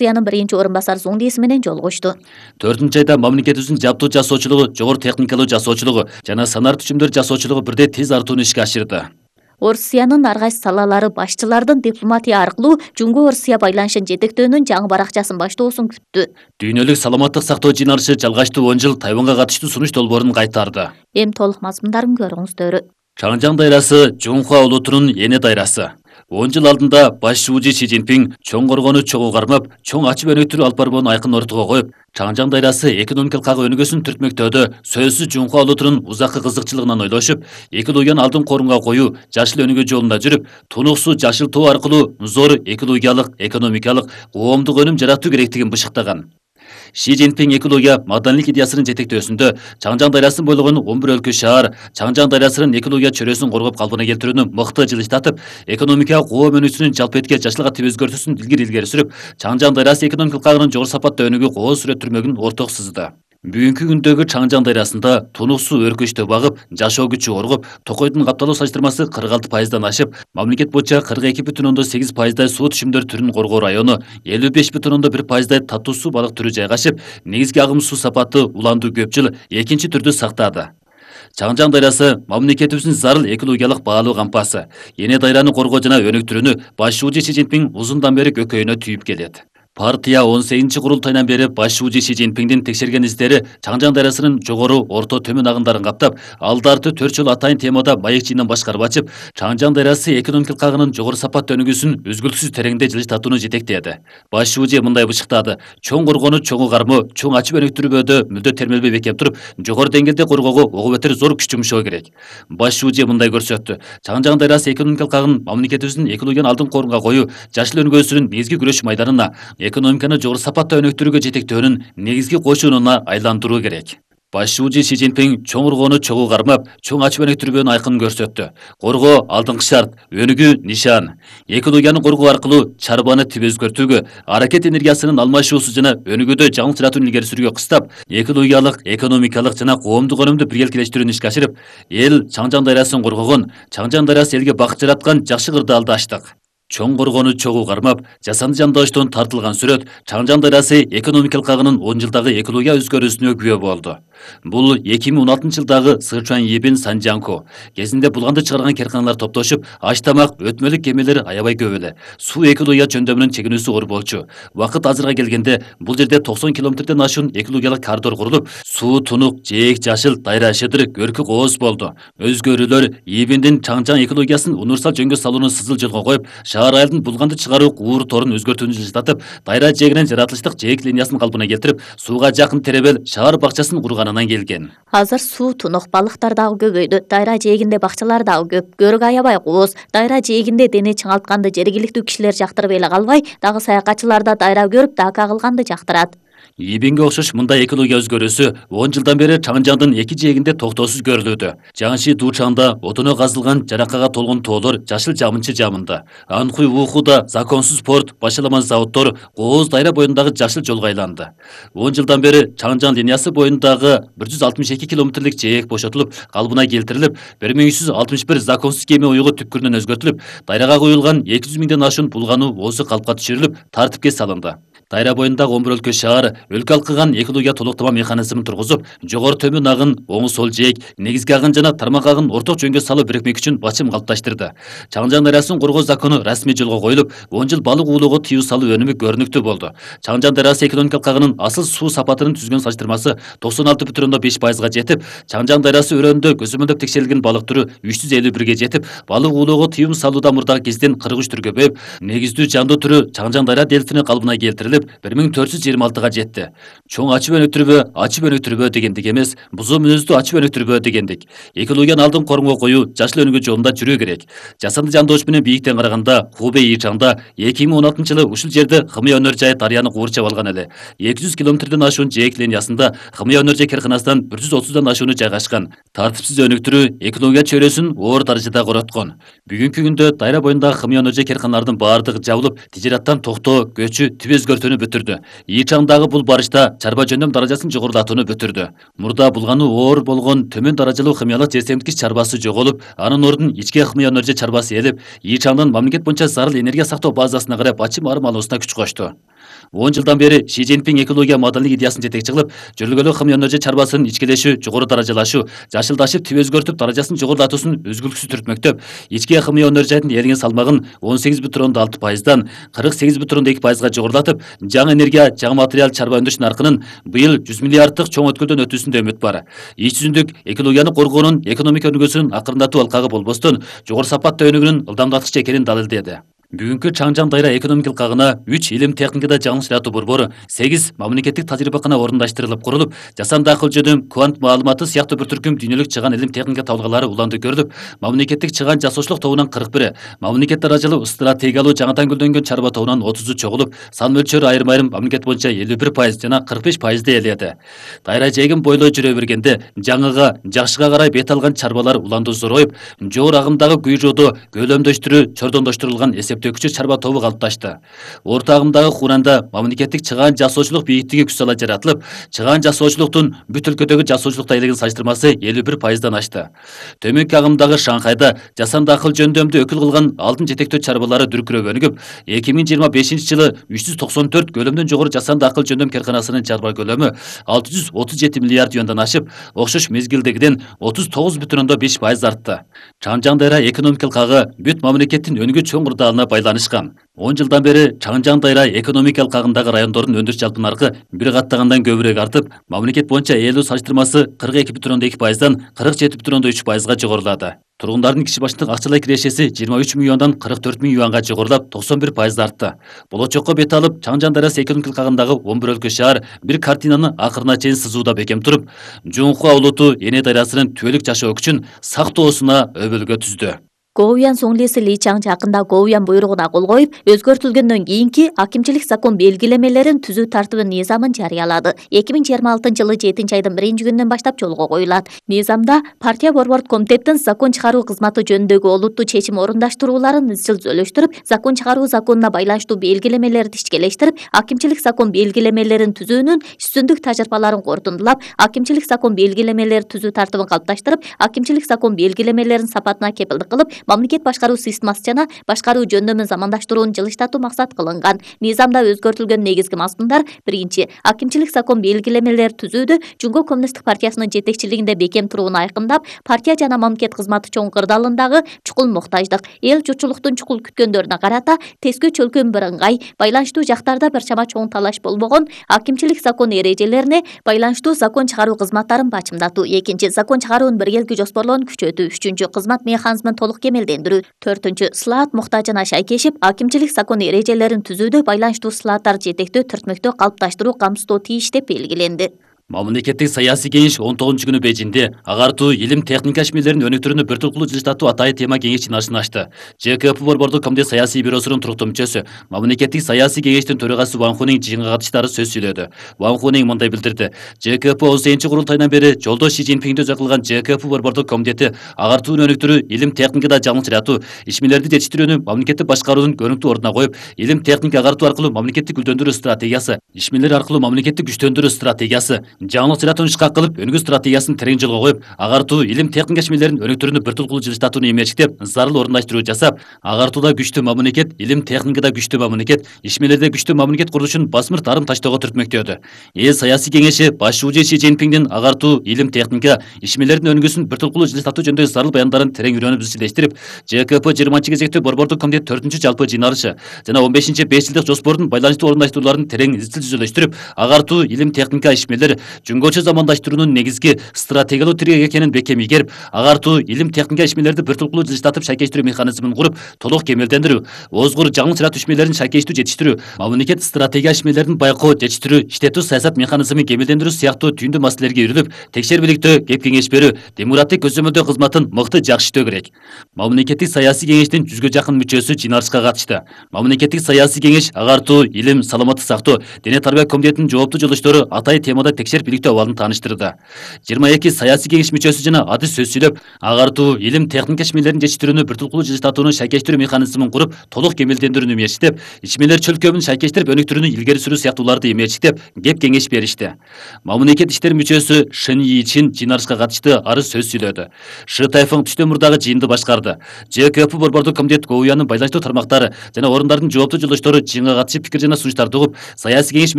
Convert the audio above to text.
Орусиянын биринчи орун басары Зуңдиси менен жолугушту. 4-айда мамлекетибиздин жабдуу жасоочулугу, жогору техникалуу жасоочулугу жана санар түчүмдөр жасоочулугу бирдей тез артууну ишке ашырды. Орусиянын ар кайсы салалары башчылардын дипломатия аркылуу Жумгу Орусия байланышын жетектөөнүн жаңы баракчасын баштоосун күттү. Дүйнөлүк саламаттык сактоо жыйналышы жалгачтуу 10 жыл Тайванга катыштуу сунуш долбоорун кайтарды. Эми толук мазмундарын көрүңүздөр. Чаңжаң дайрасы Жунхуа улутунун эне дайрасы. 10 жыл алдында баш шуучу Си Цзиньпин чоң коргону чогуу кармап, чоң ачып өнүктүрүү алып барбоонун айкын ортого коюп, Чаңжаң дайрасы экономикалык кагы өнүгүүсүн түртмөктөөдө сөзсүз Жунхуа улутунун узаккы кызыкчылыгынан ойлошуп, Экил уян алдын корунга коюу жашыл өнүгүү жолунда жүрүп, тунуксуу жашыл тоо аркылуу зор экологиялык, экономикалык, коомдук өнүм жаратуу керектигин бышыктаган. Си Цзиньпин Экил уя маданийлик идеясынын жетектөөсүндө Чаңжаң дайрасын бойлогон 11 өлкө шаар Чаңжаң дайрасынын Экил уя чөрөсүн коргоп калпына келтирүүнү мыкты жылыштатып, экономикага коом өнүүсүнүн жалпы этке жашылга тип өзгөртүүсүн илгери сүрүп, Чаңжаң дайрасы экономикалык кагынын жогору сапатта өнүгүү кооз сүрөттөрмөгүн орток сызды. Бүгүнкү күндөгү Чаңжаң дайрасында тунуксуу өркөчтө багып, жашоо күчү оргуп, токойдун капталуу салыштырмасы 46%дан ашып, мамлекет боюнча 42,8% суу түшүмдөр түрүн коргоо району, 55,1% татуу суу балык түрү жайгашып, негизги агым суу сапаты уландуу көп жыл экинчи түрдү сактады. Чаңжаң дайрасы мамлекетибиздин зарыл экологиялык баалуу кампасы. Эне дайраны коргоо жана өнүктүрүүнү баш шуучу Си Цзиньпин узундан бери көкөйүнө түйүп келет. Партия 18 курултайынан бери баш шуучу Си Цзиньпиндин текшерген издери Чаңжаң дайрасынын жогору, орто, төмөн агындарын каптап, алдарты 4 жыл атайын темада маек чыйынан башкарып ачып, Чаңжаң дайрасы экономикалык кагынын жогору сапатта өнүгүүсүн үзгүлтүксүз тереңдей жылыштатууну жетектеди. Баш шуучу мындай бышыктады: чоң коргону чоңу кармоо, чоң ачып өнүктүрүүгө мүлдө термелбей бекем туруп, жогору деңгээлде коргоого ого бетер зор күч жумшоо керек. Баш шуучу мындай көрсөттү: Чаңжаң дайрасы экономикалык кагын мамлекетибиздин экологияны алдын корунга коюу, жашыл өнүгүүсүнүн негизги күрөш майданына, экономиканы жогору сапатта өнүктүрүүгө жетектөөнүн негизги кошунуна айландыруу керек. Баш шуучу Си Цзиньпин чоң коргону чогуу кармап, чоң ачып өнүктүрүүнү айкын көрсөттү. Коргоо алдыңкы шарт, өнүгүү нишан. Экил уяны коргоо аркылуу чарбаны тип өзгөртүүгө, аракет энергиясынын алмашуусу жана өнүгүүдө жаңы чыратууну илгери сүрүүгө кыстап, экил уялык, экономикалык жана коомдук өнүмдү биргеликтештирүүнү ишке ашырып, эл Чаңжаң дайрасын коргогон, Чаңжаң дайрасы элге бакыт жараткан жакшы кырдаалды ачтык. Чоң коргону чогуу кармап, жасанды жандооштон тартылган сүрөт Чаңжаң дайрасы экономикалык кагынын 10 жылдагы экология өзгөрүүсүнө күбө болду. Бул 2016 жылдагы Сычуань Ебин Санжанко кезинде булганды чыгарган керканалар топтошуп, аш тамак, өтмөлүк кемелер аябай көп эле. Суу Экил уя жөндөмүнүн чегинүүсү оор болчу. Убакыт азырга келгенде бул жерде 90 километрден ашуун экологиялык коридор курулуп, суу тунук, жээк жашыл, дайра шыдыр, көркү кооз болду. Өзгөрүүлөр Ебиндин Чаңжаң экологиясын универсал жөнгө салууну сызыл жолго коюп, шаар айылдын булганды чыгаруу уур торун өзгөртүүнү жылжытып, дайра жээгинен жаратылыштык жээк линиясын калпына келтирип, сууга жакын теребел шаар бакчасын курганынан келген. Азыр суу тунук, балыктар дагы көбөйдү. Дайра жээгинде бакчалар дагы көп. Көрүк аябай кооз. Дайра жээгинде дене чыңалтканды жергиликтүү кишилер жактырып эле калбай, дагы саякатчылар да дайра көрүп, дака кылганды жактырат. Ебинге окшош мындай экология өзгөрүүсү 10 жылдан бери Чаңжаңдын эки жээгинде токтоосуз көрүлүүдө. Жаңши Дучаңда отуно казылган жаракага толгон тоолор жашыл жамынчы жамында. Анхуй Ухуда законсуз порт, башаламан заводдор кооз дайра боюндагы жашыл жолго айланды. 10 жылдан бери Чаңжаң линиясы боюндагы 162 километрлик жээк бошотулуп, калыбына келтирилип, 1361 законсуз кеме уюгу түпкүрүнөн өзгөртүлүп, дайрага куюлган 200 миңден ашуун булгану оозу калпка түшүрүлүп, тартипке салынды. Дайра боюндагы 11 өлкө шаар өлкө алкыган экология толуктама механизмин тургузуп, жогору төмөн агын, оң сол жээк, негизги агын жана тармак агын орток жөнгө салуу бирикмек үчүн бачым калыпташтырды. Чаңжаң дайрасын коргоо закону расмий жолго коюлуп, 10 жыл балык уулоого тыюу салуу өнүмү көрүнүктүү болду. Чаңжаң дайрасы экономикалык кагынын асыл суу сапатынын түзгөн салыштырмасы 96,5%га жетип, Чаңжаң дайрасы өрөөнүндө көзөмөлдөп текшерилген балык түрү 351ге жетип, балык уулоого тыюу салууда мурдагы кезден 43 түргө көбөйүп, негиздүү жандуу түрү Чаңжаң дайра дельфини калыбына келтирилип, 1426га жетти. Чоң ачып өнүктүрбөө дегендик эмес, бузуу мүнөздүү ачып өнүктүрбөө дегендик. Экологияны алдын корунго коюу, жашыл өнүгүү жолунда жүрүү керек. Жасанды жандоош менен бийиктен караганда Хубэй Ичаңда 2016 жылы ушул жерде Хымыя өнөр жайы дарыяны куурчап алган эле. 200 километрден ашуун жээк линиясында Хымыя өнөр жай керканасынан 130дан ашууну жайгашкан. Тартипсиз өнүктүрүү экология чөйрөсүн оор даражада короткон. Бүгүнкү күндө дайра боюндагы Хымыя өнөр жай керканалардын баардыгы жабылып, тижараттан токтоо, көчү, тип өзгөртүүнү бүтүрдү. Ичаңдагы бул барышта чарба жөндөм даражасын жогорулатууну бүтүрдү. Мурда булганы оор болгон төмөн даражалуу хымиялык жер семткич чарбасы жоголуп, анын ордун ичке Хымыя өнөр жай чарбасы ээлеп, Ичаңдын мамлекет боюнча зарыл энергия сактоо базасына карай бачым арым алуусуна күч кошту. 10 жылдан бeri Ши Цзиньпин экология маданилик идеясын жетекчи кылып, жөргөлүү кым өнөрчү чарбасын ичкилешүү, жогору даражалашуу, жашылдашып, тип өзгөртүп, даражасын жогорулатуусун үзгүлтүксүз түртмөктөп, ички кымый өнөрчүнүн элиңин салмагын 18,6%дан 48,2%га жогорулатып, жаңы энергия, жаңы материал чарба өндүрүш наркынын быйыл 100 миллиарддык чоң өткөлдөн өтүүсүндө үмүт бар. Ич жүзүндүк экологияны коргоонун экономика өнүгүүсүнүн акырындатуу алкагы болбостон, жогору сапаттуу өнүгүүнүн ылдамдаткычы экенин далилдеди. Бүгүнкү Чаңжаң дайра экономикалык кагына 3 илим техникада жаңы чыратуу борбору, 8 мамлекеттик тажрыйбакана орундаштырылып курулуп, жасанды акыл жөнүм, квант маалыматы сыяктуу бир түркүм дүйнөлүк чыган илим техника табылгалары уланды көрүлүп, мамлекеттик чыган жасоочулук тобунан 41, мамлекет даражалуу стратегиялуу жаңыдан гүлдөнгөн чарба тобунан 30 чогулуп, сан мөлчөрү айрым мамлекет боюнча 51% жана 45% ээледи. Дайра жайгын бойлой жүрө бергенде, жаңыга, жакшыга карай бет алган чарбалар уланды зороюп, жогору агымдагы күйрөөдө көлөмдөштүрүү, чордондоштурулган эсептөөкүчү чарба тобу калыпташты. Орто агымдагы Хуранда мамлекеттик чыган жасоочулук бийиктиги күч сала жаратылып, чыган жасоочулуктун бүт өлкөдөгү жасоочулук айлыгын салыштырмасы 51%дан ашты. Төмөнкү агымдагы Шанхайда жасанды акыл жөндөмдү өкүл кылган алдын жетектөө чарбалары дүркүрөп өнүгүп, 2025-жылы 394 көлөмдөн жогору жасанды акыл жөндөм керканасынын чарба көлөмү 637 миллиард юандан ашып, окшош мезгилдегиден 39,5% артты. Чаңжаң дайра экономикалык кагы бүт мамлекеттин өнүгүү чоң курдалына байланышкан. 10 жылдан бeri Чаңжаң дайра экономикалык кагындагы райондордун өндүрүш жалпы наркы бир каттагандан көбүрөөк артып, мамлекет боюнча ээлөө салыштырмасы 42,2%дан 47,3%га жогорулады. Тургундардын киши башындык акчалай кирешеси 23 миллиондан 44 миң юанга жогорулап, 91% артты. Болочокко бет алып, Чаңжаң дайрасы экономикалык кагындагы 11 өлкө шаар бир картинаны акырына чейин сызууда бекем туруп, Жунхуа улуту Эне дайрасынын түбөлүк жашоо күчүн сактоосуна өбөлгө түздү. Гоуян Соңлеси Ли Чаң жакында Гоуян буйругуна кол коюп, өзгөртүлгөндөн кийинки акимчилик закон белгилемелерин түзүү тартыбын низамын жарыялады. 2026-жылы 7-айдын 1-күнүнөн баштап жолго коюлат. Низамда партия борбордук комитеттин закон чыгаруу кызматы жөнүндөгү олуттуу чечим орундаштырууларын изчил зөөлөштүрүп, закон чыгаруу законуна байланыштуу белгилемелерди ишкелештирип, акимчилик закон белгилемелерин түзүүнүн үстүндүк тажрыйбаларын корутундулап, акимчилик закон белгилемелери түзүү тартыбын калыпташтырып, акимчилик закон белгилемелерин сапатына кепилдик кылып, мамлекет башкаруу системасы жана башкаруу жөндөмүн замандаштырууну жылыштатуу максат кылынган. Низамда өзгөртүлгөн негизги мазмундар: биринчи, акимчилик закон белгилемелери түзүүдө Жумгоо Коммунисттик партиясынын жетекчилигинде бекем турууну айкындап, партия жана мамлекет кызматы чоң кырдаалындагы чукул муктаждык, эл журтчулуктун чукул күткөндөрүнө карата тескөө чөлкөм бирыңгай, байланыштуу жактарда бир чама чоң талаш болбогон акимчилик закон эрежелерине байланыштуу закон чыгаруу кызматтарын бачымдатуу. Экинчи, закон чыгаруунун биргелки жоспорлоонун күчөтүү. Үчүнчү, кызмат механизмин толук кемелдендирүү. Төртүнчү, слаат муктажына шайкешип, акимчилик закон эрежелерин түзүүдө байланыштуу слааттарды жетектөө, түртмөктөө калыпташтыруу камсыздоо тийиш деп белгиленди. Мамлекеттик саясий кеңеш 19-күнү Бейжиңде агартуу, илим, техника ишмерлеринин өнүктүрүүнү бир толкулуу жылыштатуу атайын тема кеңеш жыйналышын ачты. ЖКП борбордук комитет саясий бюросунун туруктуу мүчөсү, мамлекеттик саясий кеңештин төрагасы Ван Хунин жыйынга катышчылары сөз сүйлөдү. Ван Хунин мындай билдирди: ЖКП 30-курултайынан бери жолдош Ши Цзиньпинди өзү кылган ЖКП борбордук комитети агартууну өнүктүрүү, илим, техникада жаңы чыратуу, ишмерлерди жетиштирүүнү мамлекеттик башкаруунун көрүнүктүү ордуна коюп, илим, техника агартуу аркылуу мамлекеттик гүлдөндүрүү стратегиясы, ишмерлер аркылуу мамлекеттик күчтөндүрүү стратегиясы, жаңылык чыратууну кылып, өнүгүү стратегиясын терең жолго коюп, агартуу, илим, техника ишмерлеринин өнүктүрүүнү бир толкулуу жылыштатууну эмечтеп, зарыл орундаштыруу жасап, агартууда күчтүү мамлекет, илим, техникада күчтүү мамлекет, ишмерлерде күчтүү мамлекет курулушун басмыр тарым таштоого түртмөктөдү. Эл саясий кеңеши башчыбыжы Ши Цзиньпиндин агартуу, илим, техника, ишмерлердин өнүгүүсүн бир толкулуу жылыштатуу жөнүндөгү зарыл баяндарын терең үйрөнүп изчилештирип, ЖКП 20-кезектүү борбордук комитет 4-жалпы жыйналышы жана 15 5 жылдык жоспордун байланыштуу орундаштырууларын терең изчил жүзөлөштүрүп, агартуу, илим, техника, ишмерлер жөнгөчө замандаштыруунун негизги стратегиялуу тирек экенин бекем ийгерип, агартуу, илим, техника ишмерлерди бир толкулуу жылыштатып шайкештирүү механизмин куруп, толук кемелдендирүү, озгур жаңы чыратуу ишмерлерин шайкештүү жетиштирүү, мамлекет стратегия ишмерлерин байкоо, жетиштирүү, иштетүү саясат механизмин кемелдендирүү сыяктуу түйүндүү маселелерге үйрүлүп, текшербиликтөө, кеп кеңеш берүү, демократик көзөмөлдөө кызматын мыкты жакшыртуу керек. Мамлекеттик саясий кеңештин 100гө жакын мүчөсү жыйналышка катышты. Мамлекеттик саясий кеңеш агартуу, илим, саламаттык сактоо, дене тарбия комитетинин жооптуу жолдоштору атайын темада текшерим шакештерип иликтөө абалын тааныштырды. 22 саясий кеңеш мүчөсү жана адыс сөз сүйлөп, агартуу, илим, техника ишмелерин жетиштирүүнү бир тулкулуу жылыштатууну шакештирүү механизмин куруп, толук кемелдендирүүнү мээчтеп, ичмелер чөлкөмүн шакештирип өнүктүрүүнү илгери сүрүү сыяктууларды эмечтеп, кеп кеңеш беришти. Мамлекет иштери мүчөсү Шин Йичин жыйналышка катышты, арыз сөз сүйлөдү. Шы Тайфун Түштөмүрдагы жыйынды башкарды. ЖКП борбордук комитет ГОУЯнын байланыштуу тармактары жана орундардын жооптуу жолдоштору жыйынга катышып пикир жана сунуштарды угуп, саясий кеңеш